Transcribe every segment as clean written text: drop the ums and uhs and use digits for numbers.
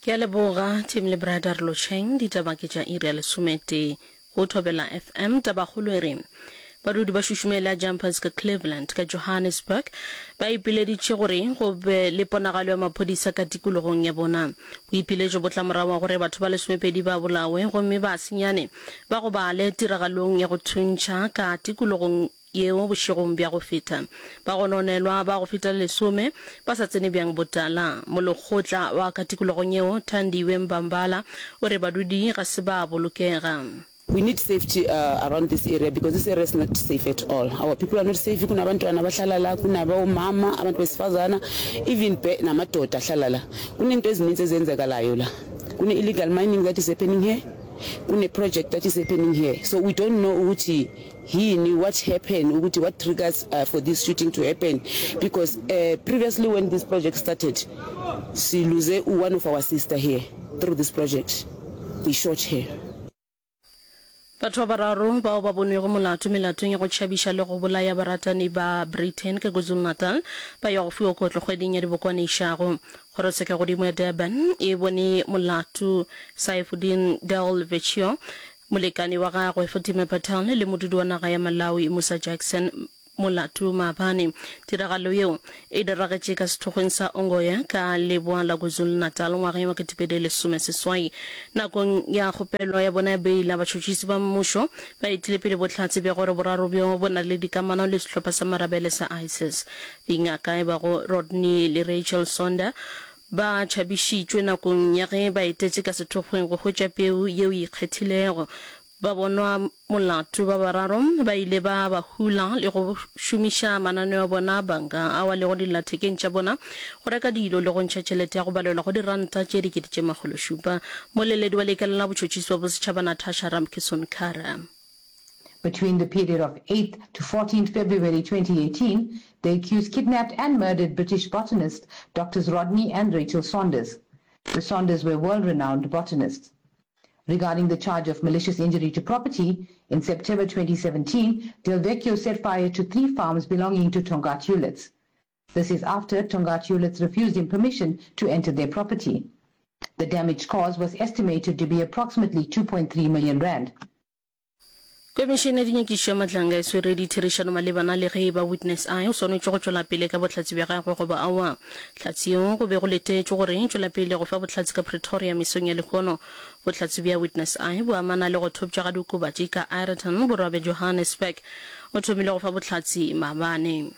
Ke a leboga Tim le Brada re lotšheng ditaba ke tša iri ya lesometee go Thobela FM. Tabakgolo e re badudi ba šušumela Jumpers ka Cleveland ka Johannesburg ba ipileditše gore go be le ponagalo ya maphodisa ka tikologong ya bona. Boipiletšo bo tla morago ga gore batho ba lesomepedi ba bolawe gomme ba senyane ba gobale tiragalong ya go thuntšha ka tikologong yeo bošegong bja go feta. Bagononelwa ba go feta lesome ba sa tsene bjang botala. Molekgotla wa ka tikologong yeo, Thandiwe Mbambala, o re badudi ga se ba bolokega. We need safety around this area because this area is not safe at all. Our people are not safe, kunabantwana abahlala la, kunabomama, abantu besifazana, even namadoda ahlala la. Kunento ezininzi ezenzekalayo la. Kune illegal mining that is happening here, kune project that is happening here. So we don't know ukuthi Yini what happen ukuthi what triggers uh, for this shooting to happen because uh, previously when this project started si lose one of our sister here through this project they shot her. Batho ba bararo bao ba bonwego molato melatong ya go tšhabiša le go bolaya baratani ba Britain ka KwaZulu-Natal ba ya go fiwa kotlo kgweding ya Dibokwane išago. Kgorotshekagodimo ya Durban e bone molato Saifuddin Del Vecchio Molekane wa gagwe, Fatima Patel, le modudi wa naga ya Malawi, Musa Jackson, molato maabane. Tiragalo yeo e diragetše ka sethokgweng sa Ongoye ka leboa la KwaZulu-Natal ngwageng wa 2018. Nakong ya kgopelo ya bona ya beila, batšhotšhisi ba mmušo ba etile pele bohlatse bja gore boraro bjo bo na le dikamano le sehlopha sa marabele sa ISIS. Dingaka e bago Rodney le Rachel Sonder Ba tšhabišitšwe nakong ya ge ba etetše ka sethokgweng go hwetša peu yeo e ikgethilego. Ba bonwa molato ba bararo ba ile ba ba hula le go šomiša mananeo a bona a banka ao a lego dillathekeng tša bona go reka dilo le go ntšha tšhelete ya go balelwa go diranta tše 700. Moleledi wa Lekala la Botšhotšhisi bja Bosetšhaba Natasha Ramkisson-Kara. Between the period of 8th to 14th February 2018, the accused kidnapped and murdered British botanists Doctors Rodney and Rachel Saunders. The Saunders were world-renowned botanists. Regarding the charge of malicious injury to property, in September 2017, Del Vecchio set fire to three farms belonging to Tongaat Hulett. This is after Tongaat Hulett refused him permission to enter their property. The damage caused was estimated to be approximately 2.3 million rand. Komišene ya Dinyakišišo ya Matlanga e swere ditherišano malebana le ge e ba Witness I o swanetše go tšwela pele ka bohlatse bja gagwe goba aowa. Hlatse yeo go be go letetšwe gore e tšwela pele go fa bohlatse ka Pretoria mesong ya lehono. Bohlatse bja Witness I bo amana le go thopša ga diokobatši ka Aeroton, borwa bja Johannesburg. O thomile go fa bohlatse maabane.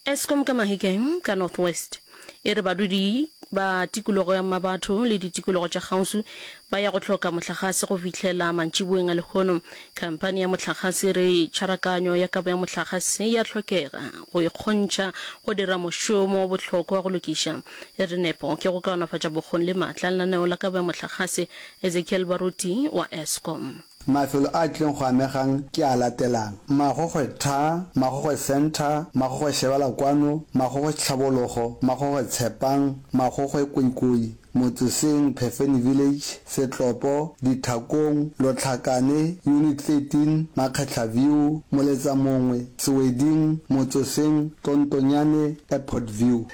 Eskom ka Mahikeng ka North West e re badudi ba tikologo ya Mmabatho le ditikologo tša kgauswi ba ya go hloka mohlagase go fihlela mantšiboeng a lehono. Khamphani ya mohlagase e re tšharakanyo ya kabo ya mohlagase ya hlokega go ikgontšha go dira mošomo o bohlokwa wa go lokiša. E re nepo ke go kaonafatša bokgoni le maatla a lenaneo la kabo ya mohlagase. Ezekiel Baruti wa Eskom. Mafelo a tlileng go amegang ke a latelang, Magogwe Tha, Magogwe Centre, Magogwe Shebela Kwano, Magogwe Tlhabologo, Magogwe Tshepang, Magogwe Koikoi, Motseseng, Phefeni Village, Setlopo, Dithakong, Lotlhakane, Unit 13, Makgetla View, Moletsamongwe, Seweding, Motsoseng, Tontonyane, Airport View.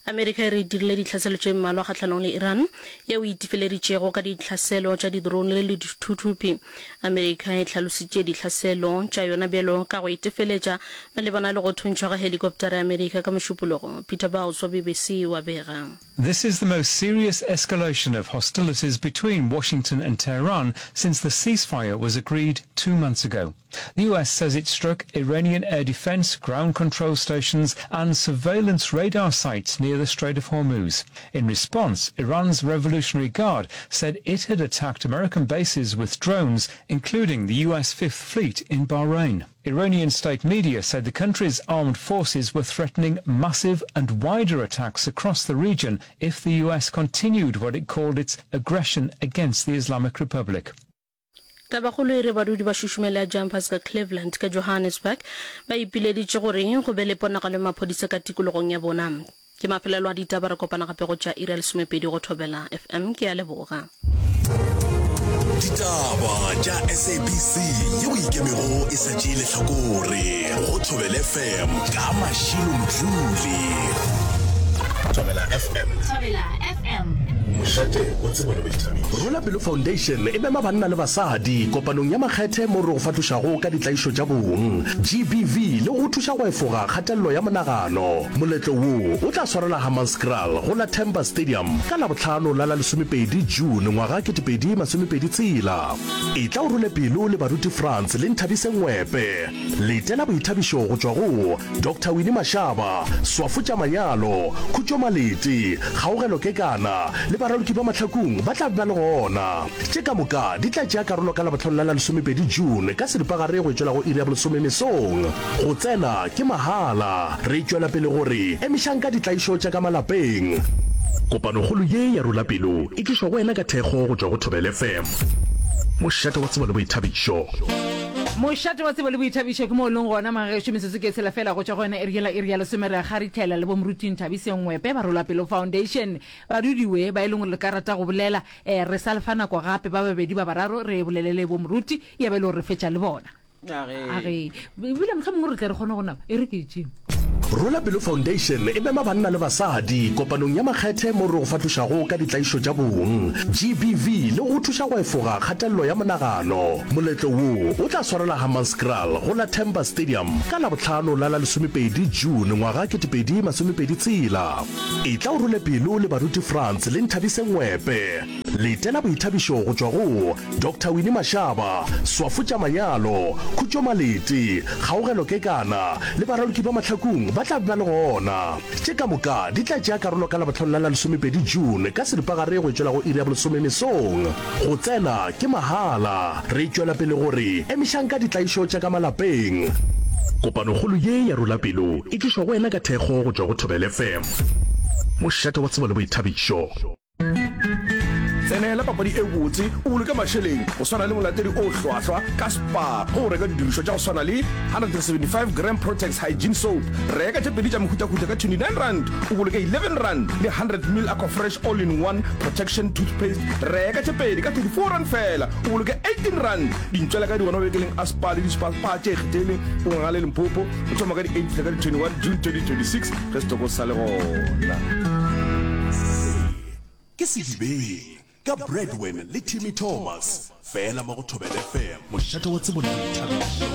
Amerika e re e dirile ditlhaselo tše mmalwa kgahlanong le Iran, yeo e itefeleditšego ka ditlhaselo tša di-drone le dithuthupi. Amerika e hlalositše ditlhaselo tša yona bjalo ka go itefeletša malebana le go thuntšhwa ga helikoptara ya Amerika ka Mošupologo. Peter Bowles wa BBC o a bega. This is the most serious escalation of hostilities between Washington and Tehran since the ceasefire was agreed 2 months ago. The US says it struck Iranian air defense, ground control stations and surveillance radar sites near the Strait of Hormuz. In response, Iran's Revolutionary Guard said it had attacked American bases with drones, including the US Fifth Fleet in Bahrain. Iranian state media said the country's armed forces were threatening massive and wider attacks across the region if the US continued what it called its aggression against the Islamic Republic. Tabakgolo e re badudi ba šušumela ya Jumpers ka Cleveland ka Johannesburg ba ipileditše gore go be le ponagalo ya maphodisa ka tikologong ya bona. Ke mafelelo a ditaba re kopana gape go tša iri ya lesomepedi go Thobela FM. Ke a leboga. Ditaba tša SABC yeo e ikemego e sa tšee lehlakore go Thobela FM ka Mashilo Mdluli. Thobela FM. Thobela FM. Mošate wa tsebo le boithabišo. Rola Pelo Foundation e mema banna le basadi kopanong ya makgethe mo re go fahlošago ka ditlaišo tša bong, GBV, le go go thuša go efoga kgatelelo ya monagano. Moletlo wo o tla swarelwa Hammanskraal go la Themba Stadium ka Labohlano la la lesomepedi June ngwaga 2026. Etla o role pelo le baruti Frans le Nthabiseng Ngwepe. Letela boithabišo go tšwa go Doctor Winnie Mashaba, Swafo tša Manyalo, Khutšo Malete, Kgaogelo Kekana le baraloki ba Mahlakung ba tla be ba le gona. Tše ka moka di tla tšea karolo ka Labohlano la la lesomepedi June ka seripagare go e tšwela go iri ya bolesome mesong. Go tsena ke mahala. Re tšwela pele go re emišang ka ditlaišo tša ka malapeng. Kopanokgolo ye ya Rola Pelo e tlišwa go wena ka thekgo go tšwa go Thobela FM, mošate wa tsebo le boithabišo. Mošate wa tsebo le boithabišo ke mo o leng gona, magagešo. Metsotso ke e tshela feela go tšwa go yona iri yela, iri ya lesome. Re a kgarithela le bo Moruti Nthabiseng Ngwepe ba Rola Pelo Foundation. Badudiwe ba e leng gore le ka rata go bolela, eh, re sa le fa nako gape, ba babedi ba bararo re bolele le bo Moruti, ya ba e le gore re fetša le bona. A re, ebile mohlomongwe re tle re kgone go naba, e re ke tšeo. Rola Pelo Foundation e mema banna le basadi kopanong ya makgethe mo re go fahlošago ka ditlaišo tša bong, GBV, le go go thuša go efoga kgatelelo ya monagano. Moletlo wo o tla swarelwa Hammanskraal go la Themba Stadium ka Labohlano la la lesomepedi June ngwaga 2026. Etla o role pelo le baruti Frans le Nthabiseng Ngwepe. Letela boithabišo go tšwa go Doctor Winnie Mashaba, Swafo tša Manyalo, Khutšo Malete, Kgaogelo Kekana le baraloki ba Mahlakung ba tla be ba le gona. Tše ka moka di tla tšea karolo ka Labohlano la la lesomepedi June ka seripagare go e tšwela go iri ya bolesome mesong. Go tsena ke mahala. Re tšwela pele go re emišang ka ditlaišo tša ka malapeng. Kopanokgolo ye ya Rola Pelo e tlišwa go wena ka thekgo go tšwa go Thobela FM, mošate wa tsebo le boithabišo. Tsenela papadi e botse o boloke mašeleng go swana le molatedi o hlwahlwa ka Spar ge o reka didirišwa tša go swana le 175 gram Protex Hygiene Soap. Reka tše pedi tša mehutahuta ka R29 o boloke R11 le 100 ml Aquafresh All in One Protection Toothpaste. Reka tše pedi ka R34 feela o boloke R18. Dintšwela ka di gona mabenkeleng a Spar le di-Spar Spar tše ikgethileng go Ngangale Limpopo go thoma ka di 8 fihla ka di 21 June 2026 ge setoko se sa le gona. Se ke Sedibeng ka Bradwin le Timmy Thomas fela mo go Thobela FM, mošate wa tsebo le boithabišo.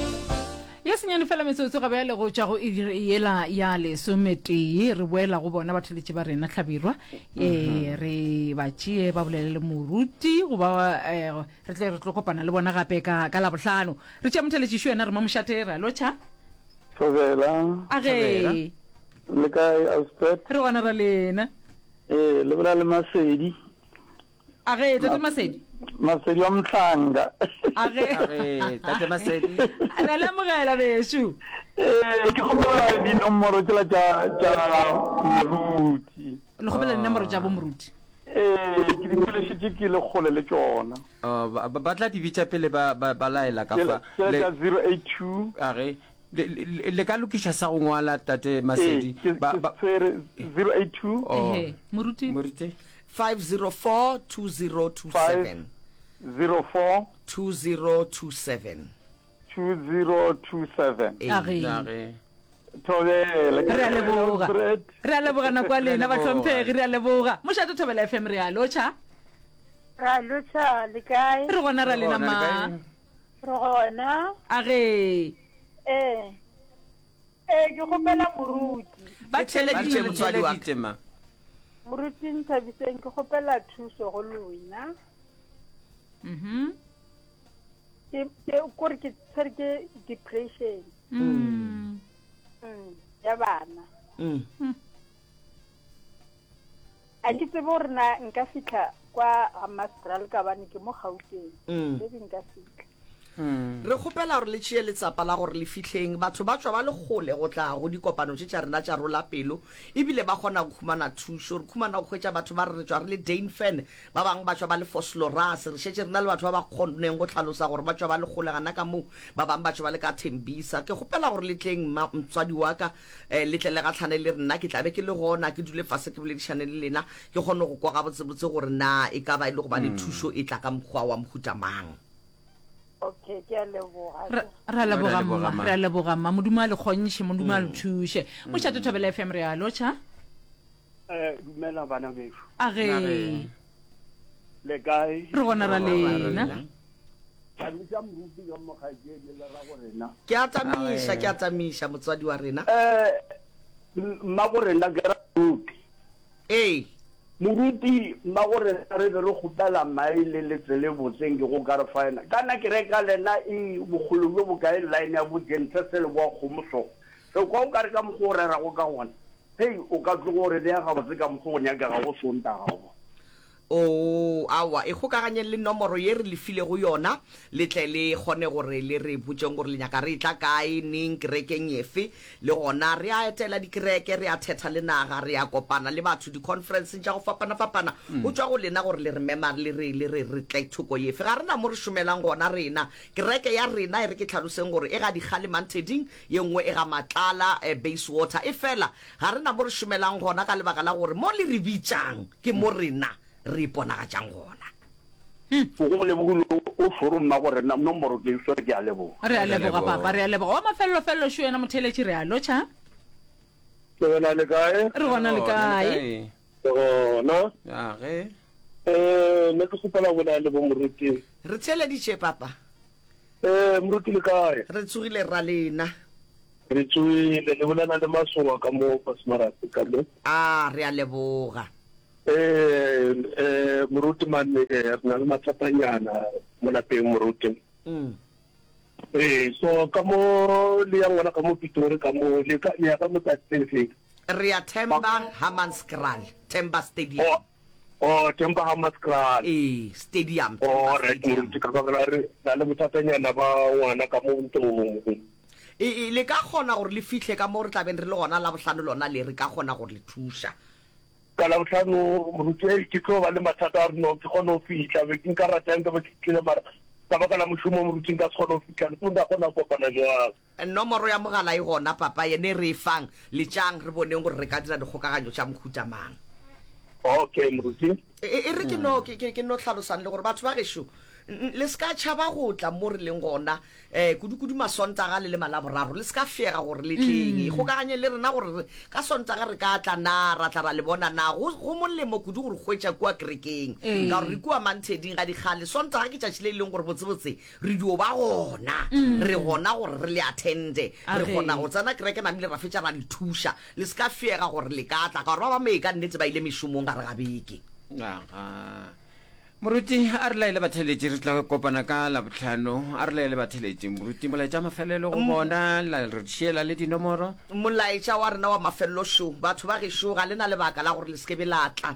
Ya senyane fela metsotso ga bjale go tšwa go iri yela ya lesometee. Re boela go bona batheletši ba rena Hlabirwa, e re ba tšee ba bolele le moruti goba eh, re tle re tlo kopana le bona gape ka ka Labohlano. Re tšea motheletši šo yena re mo mošate re a lotšha. Thobela. A ge. Le kae Auspet? Re gona ra lena. Ee, le bolela le Masedi. A ge, Tate Masedi. Masedi wa Mhlanga. A ge. A ge, Tate Masedi. Re a le amogela bešo. Ee, ke kgopela dinomoro tšela tša tša moruti. Le kgopela dinomoro tša bo moruti. Ee, ke di kwelešitše ke le kgole le tšona. Oh, ba, ba tla di bitša pele ba, ba, ba laela ka fa. Tšela tša 082. A ge. Le, le, le ka lokiša sa go ngwala, Tate Masedi. Ee, ke, Ba, ke ba, tshwere 082. Oh. Ehe, moruti. Moruti. 504 2027. 504. 2027. 2027. Ee. A ge. A ge. Thobela. Re a leboga. Alfred. Re a leboga nako ya lena bahlomphegi, re a leboga. Mošate Thobela FM re a lotšha. Re a lotšha, le kae? Re gona ra lena Re gona, le ma. kae? Re gona. A ge. Ee. Ee, ke kgopela moruti. Ba theeleditše motswadi wa ka. ma. Moruti Nthabiseng, ke kgopela thuso go lena. Mhm. Ke ke kore ke tshwere ke depression. Mm. Mm, ya bana. Mm. A ke tsebe gore na nka fihla kwa Hammanskraal ka bane ke mo Gauteng. Mm. Maybe nka fihla. Re kgopela gore le tšee letsapa la gore le fihleng. Batho ba tšwa ba le kgole go tla go dikopano tše tša rena tša Rola Pelo, ebile ba kgona go humana thušo. Re khumana go hwetša batho ba re re tšwa re le Dainfern, ba bangwe ba tšwa ba le Vosloorus. Re šetše re na le batho ba ba kgonneng go hlalosa gore ba tšwa ba le kgole gana ka moo, ba bangwe ba tšwa ba le ka Tembisa. Ke kgopela gore le tleng, mma, motswadi wa ka, eh, le tle le gahlane le rena. Ke tla be ke le gona, ke dule fase ke boledišane le lena, ke kgone go kwa gabotsebotse gore na e ka ba e le gobane thušo e tla ka mokgwa wa mohuta mang. Okay, ke a leboga. Re re a leboga mma, re a leboga mma. Modimo a le kgontšhe, Modimo a le thuše. Mošate Thobela FM re a lotšha. Eh, dumela bana bešo. A ge. Le kae? Re gona ra lena. Tamiša moruti ka mokgaetšedi le ra go rena. Ke a tamiša, ke a tamiša motswadi wa rena. Eh, mma go rena ke ra moruti. Ee. Moruti, mma go rena re be re kgopela mae le letsele botseng ke go ka re fa yena. Kana ke reka lena e bokgole bjo bokae line ya bo Jente se le boa kgomo so. Re kwa o ka re ka mokgwa o rerago ka gona. Hei, o ka tloga o re bea gabotse ka mokgwa o nyakegago Sontaga go. Oo, aowa, ikgokaganyeng le nomoro ye re le filego yona, le tle le kgone gore le re botšeng gore le nyaka re etla kae, neng, kerekeng efe. Le gona re a etela dikereke, re a thetha le naga, re a kopana le batho dikhonferenseng tša go fapana-fapana. Go tšwa go lena gore le re mema le re, le re re tle thoko efe. Ga re na mo re šomelang gona rena. Kereke ya rena, e re ke hlaloseng gore e ga Dikgale Manteding, ye nngwe e ga Matlala, Bayswater. Efela ga re na mo re šomelang gona ka lebaka la gore mo le re bitšang ke mo rena re iponagatšang gona. O go lebogile o šoro mmago rena nomoro ke e swere ke a leboga. Re a leboga papa, re a leboga. Wa mafelelo-felelo šo yena motheeletši re a lotšha. Le gona le kae? Re gona le kae? Re gona. Age. Eh, ne ke kgopela go bolela le bo moruti. Re theeleditše papa. Eh, moruti le kae? Re tsogile rra lena. Re tsogile, le bolela le Masowa ka mo Pasmarate ka mo. A, re a leboga. Eh, eh, moruti man, eh, re na le mathatanyana mo lapeng moruti. Mm. Eh, so ka mo le yang gona ka mo Pitori ka mo le ka le ya ka mo tsatsi le feng? Re ya Themba Hammanskraal, Themba Stadium. Oh, Oh, Temba Hammanskraal. Ee, stadium, Oh, Temba right, Stadium. moruti, ka baka la re na le bothatanyana ba ngwana ka mo ntlong. E, e, le ka kgona gore le fihle ka mo re tla beng re le gona Labohlano lona le, re ka kgona gore le thuša. Ka Labohlano, moruti, ei, ke tlo ba le mathata a gore no ke kgone go fihla, be ke nka rata nka be ke tlile mara ka baka la mošomo, moruti, nka se kgone go fihla, le tlo nka kgona go kopana jwang? Nomoro ya mogala e gona, papa, yene e re e fang. Letšang, re boneng gore re ka dira dikgokaganyo tša mohuta mang. Okay, moruti. E, e, e re ke no, ke, ke, ke no hlalosang le gore batho ba gešo, n, le se ka tšhaba go tla mo re leng gona, eh, kudu-kudu Masontaga le le Malaboraro, le se ka fega gore le tleng. Ikgokaganyeng le rena gore re, ka Sontaga re ka tla na, ra tla ra le bona na. Go, go molemo kudu go re hwetša kua kerekeng, ka gore re kua Mantheding ga dikgale. Sontaga ke tšatši le e leng gore botsebotse Re dio ba gona. Re gona gore re le attende. Re kgona go tsena kereke namile ra fetša ra le thuša. Le se ka fiega gore le ka tla, ka gore ba ba mee ka nnete ba ile mešomong gare ga beke. Aga. Moruti, a re laele batheeletši, re tla kopana ka Labohlano. A re laele batheeletši. Moruti, molaetša wa mafelelo go bona, la re šiela le dinomoro. Molaetša wa rena wa mafelelo šo, Batho ba gešo, ga le na lebaka la gore le se ke be la tla.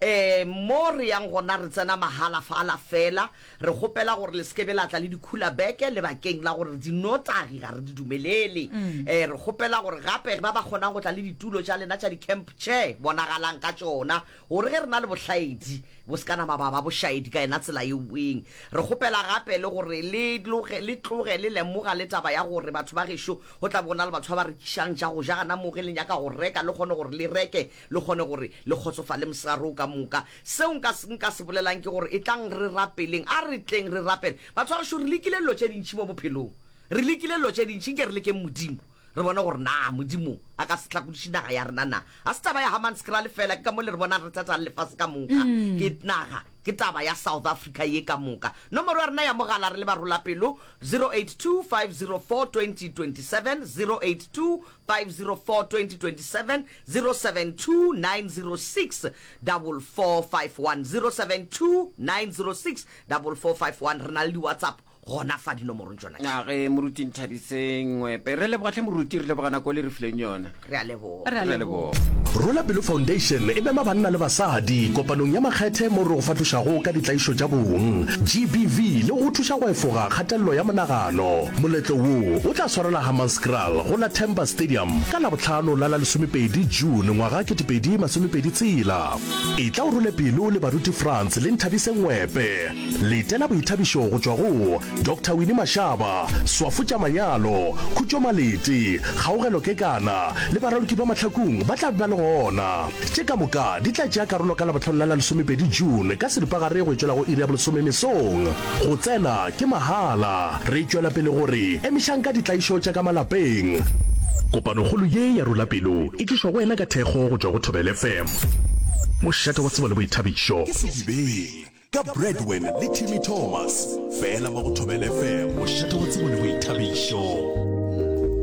Um mo re yang gona re tsena mahala fala fela. Re kgopela gore le se ke be la tla le dikhulabeke lebakeng la gore dinotagi ga re di dumelele. Ee, re kgopela gore gape ba ba kgonang go tla le ditulo tša lena tša di-camp chair, bonagalang ka tšona gore ge re na le bohlaedi bo se ka nama ba ba bošaedi ka yena tsela yeweng. Re kgopela gape le gore le tloge le tloge le lemoga le taba ya gore batho ba gešo go tla be go na le batho ba ba rekišang tša go ja gana moo ge le nyaka go reka le kgone gore le reke le kgone gore le kgotsofale mosegare wo ka moka. Seo nka, nka se bolelang ke gore etlang re rapeleng. A re tleng re rapele. Batho ba gešo, re lekile dilo tše dintši mo bophelong. Re lekile dilo tše dintši. Nke re lekeng Modimo, re bone gore na Modimo a ka se hlakodiše naga ya rena na. Ga se taba ya Hammanskraal feela, ke ka mo le re bonang re thetha le lefase ka moka. Ke naga, ke taba ya South Africa ye ka moka. Nomoro ya rena ya mogala re le barolapelo, 082 504 2027, 082 504 2027, 072 906 4451, 072 906 4451. Re na le di-WhatsApp gona fa dinomorong tšona tše. A ge Moruti Nthabiseng Ngwepe. Re leboga hle Moruti, re leboga nako le re fileng yona. Re a leboga. Re a Re a leboga. leboga. Rola Pelo Foundation e mema banna le basadi kopanong ya makgethe mo re go fahlošago ka ditlaišo tša bong, GBV, le go go thuša go efoga kgatelelo ya monagano. Moletlo wo o tla swarelwa Hammanskraal go la Temba Stadium ka Labohlano la la lesomepedi June ngwaga 2026. Etla o role pelo le baruti Frans le Nthabise Ngwepe. Letela boithabišo go tšwa go Doctor Winnie Mashaba, Swafo tša Manyalo, Khutšo Malete, Kgaogelo Kekana le baraloki ba Mahlakung ba tla be ba le gona. Tše ka moka di tla tšea karolo ka Labohlano la la lesomepedi June ka seripagare go e tšwela go iri ya bolesome mesong. Go tsena ke mahala. Re tšwela pele go re emišang ka ditlaišo tša ka malapeng. Kopanokgolo ye ya Rola Pelo e tlišwa go wena ka thekgo go tšwa go Thobela FM, mošate wa tsebo le boithabišo. Ke Sedibeng ka Bradwin le Timmy Thomas, fela mo go Thobela FM, mošate wa tsebo le.